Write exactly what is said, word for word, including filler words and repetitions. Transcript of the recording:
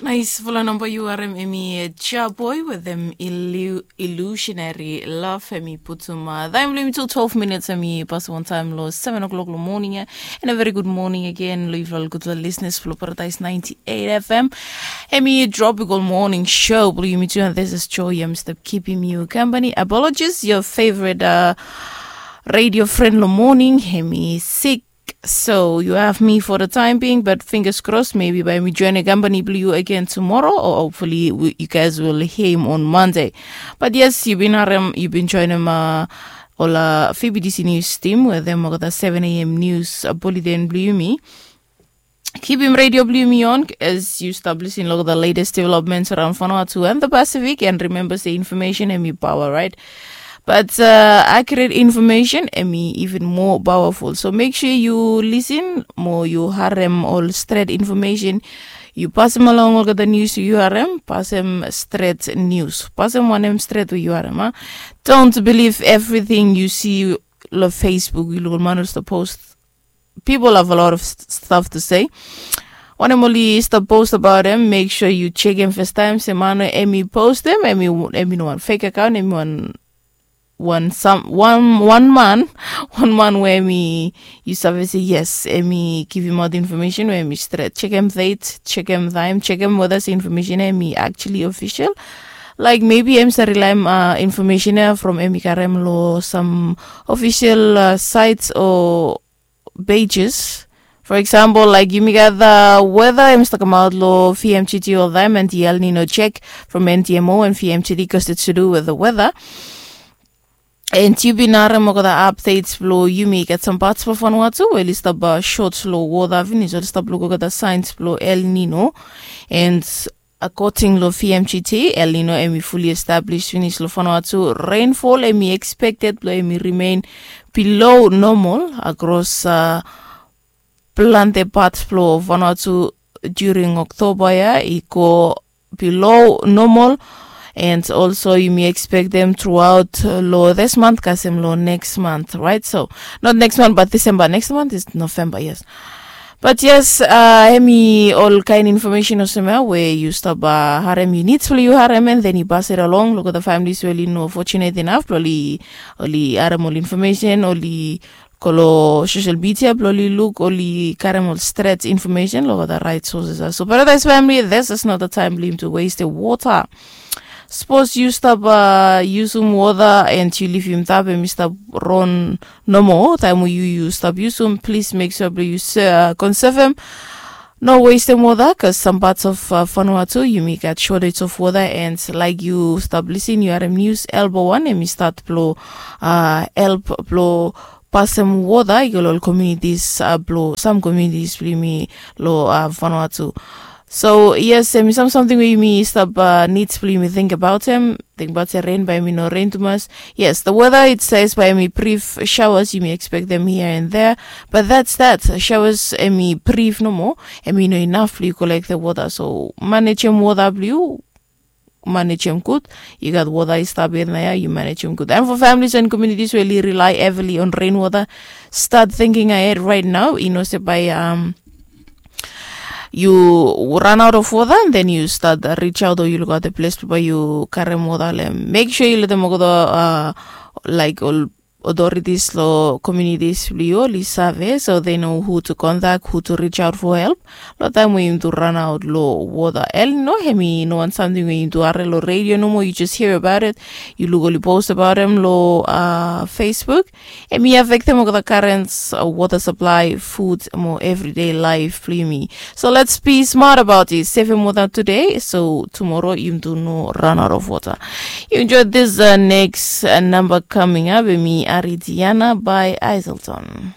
Nais fala namba yu harem emi Jaboy with them illusionary love emi putum. Taem blong yumi tu twelve minutes emi pasim wantaem long seven o'clock long morning ya. And a very good morning again long yufala gutfala listeners flo Paradise ninety-eight F M. Emi tropical morning show blong yumi tu and this is Joy. Yumi stap kipim yu company. Apologies, your favorite uh, radio friend long morning emi sick. So you have me for the time being, but fingers crossed, maybe by me joining company blue you again tomorrow, or hopefully we, you guys will hear him on Monday. But yes, you been harem, you been joining uh, all uh, F B D C news team with them over the seven a.m. news uh, bulletin blue me. Keep him radio blue me on as you stop listening to the latest developments around Vanuatu and the Pacific. And remember, say information and me power, right? But uh, accurate information emi even more powerful. So make sure you listen mo you harem all straight information. You pasim along olgeta news you harem, pasim straight news. Pasim wanem straight you harem, huh? Don't believe everything you see lo Facebook, you look man the post. People have a lot of stuff to say. Wanem oli stap post about them, make sure you check them first time. Se man emi post them, emi emi no one fake account, emi one one some one one man one man where me you save say yes emi give him out information where me straight check him date check him time check him whether say information emi actually official. Like maybe em sa rely uh, information eh, from emi karem lo some official uh, sites or pages. For example, like yumi gat the weather em staka maut lo V M G T all time and the El Nino check from N T M O and V M G T because it's to do with the weather. And yu bin harem olgeta updates blo yumi gat some parts blo Vanuatu we oli stap uh, short lo water finis oli stap look olgeta signs blo El Nino. And according lo V M G T, El Nino emi fully established finis lo Vanuatu. Rainfall emi expected blo emi remain below normal across uh, plante parts blo Vanuatu during October ya i go below normal. And also yumi expect them throughout uh, lo this month kasem lo next month, right? So not next month but December, next month is November, yes. But yes, uh, emi all kind information osema where you stop uh, harem you need to you harem and then you pass it along. Look at the families where you know fortunate enough, probably only harem all information, only kolo social media blo oli look oli karem ol stret information lo the right sources. So Paradise family, this is not the time blo him to waste the water. Suppose you stop uh, usum water and you leave him tap and you stop run no more time we you you stop usum, please make sure blo you uh, conserve him. No waste them water because some parts of uh, Vanuatu you may get shortage of water and like you stop listening you are news elbow one and you start blow uh, help blow pasem water i go lo ol communities uh, blo some communities blo yumi lo uh, Vanuatu. So yes, em i sam something we yumi stap uh, needs blo yumi think about em. Think about se rain bae mi no rain tumas. Yes, the weather it says bae mi brief showers yumi expect them here and there. But that's that. Showers em i brief nomo. Em i no enough blo you collect the water. So manage em water blo you manage em good. You got water is stop in there, you manage em good. And for families and communities where you rely heavily on rainwater, start thinking ahead right now. You know, say by um you run out of water and then you start uh, reach out or you look at the place where you carry water lem. Make sure you let them go uh, like all authorities lo communities blo you oli save so they know who to contact, who to reach out for help. Lo taem we yumi tu run out lo water El Nino, em i no wan something we yumi tu harem lo radio nomo, you just hear about it. You look oli post about em lo uh, Facebook. Em i affect em olgeta currents uh, water supply, food mo everyday life blo yumi. So let's be smart about it. Save em water today so tomorrow yumi tu no run out of water. You enjoy this uh, next uh, number coming up. Em i Aridiana by Iselton.